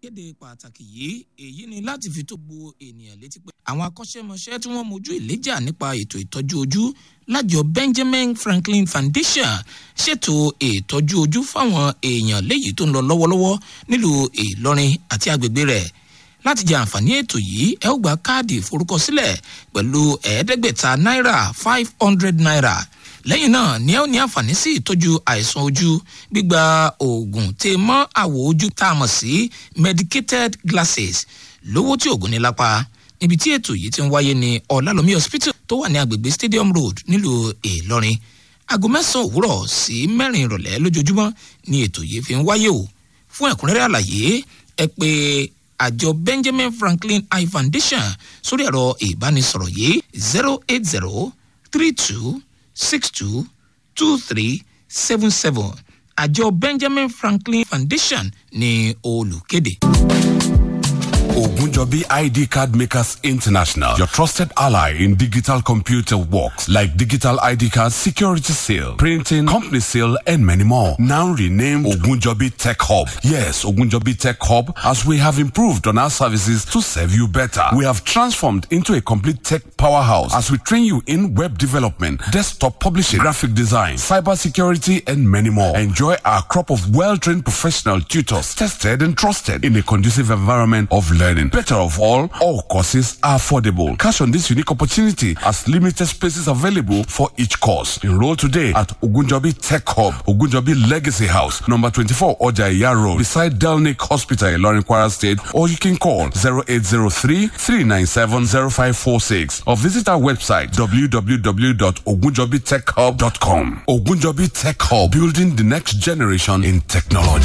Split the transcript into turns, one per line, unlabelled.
Kéde pàtàkì yìí, èyí ni láti fi tó gbogbo ènìyàn létí pé àwọn akọ́ṣẹ́mọṣẹ́ tí wọ́n mojú ìléjà nípa ètò ìtọ́jú ojú lájọ Benjamin Franklin Foundation ṣètò ìtọ́jú ojú fáwọn èèyàn léyìí tó ń lọ lọ́wọ́lọ́wọ́ nílùú Ìlọrin àti agbègbè rẹ̀. Láti jẹ àǹfààní ètò yìí, ẹ ó gba káàdì ìforúkọsílẹ̀ pẹ̀lú 500 náírà, ₦500. Lẹ́yìn náà ni ẹ ó ní àǹfààní sí ìtọ́jú àìsàn ojú, gbígba oògùn tè mọ́ àwọ̀ ojú tá a mọ̀ sí medicated glasses lówó tí oògùn ní lápá. Níbi tí ètò yìí ti ń wáyé ní Ọ̀làlómi Hospital tó wà ní agbègbè Stadium Road nílùú Ìlọrin. Aago 9 òwúrọ̀ sí 4 ìrọ̀lẹ́ lójoojúmọ́ ni ètò yìí fi ń wáyé o. Fún ẹ̀kúnrẹ́rẹ́ àlàyé, ẹ pè àjọ Benjamin Franklin Eye Foundation sórí ẹ̀rọ ìbánisọ̀rọ̀ yìí: 08032622377. Àjọ Benjamin Franklin Foundation ní olùkéde.
Ogunjobi ID Card Makers International, your trusted ally in digital computer works like digital ID cards, security seal, printing, company seal, and many more. Now renamed Ogunjobi Tech Hub. Yes, Ogunjobi Tech Hub, as we have improved on our services to serve you better. We have transformed into a complete tech powerhouse as we train you in web development, desktop publishing, graphic design, cyber security, and many more. Enjoy our crop of well-trained professional tutors, tested and trusted in a conducive environment of learning. Better of all courses are affordable. Cash on this unique opportunity as limited spaces available for each course. Enroll today at Ogunjobi Tech Hub, Ogunjobi Legacy House, number 24 Ojaiya Road, beside Delnick Hospital, Ilorin, Kwara State, or you can call 0803 397 0546 or visit our website www.ogunjobitechhub.com. Ogunjobi Tech Hub, building the next generation in technology.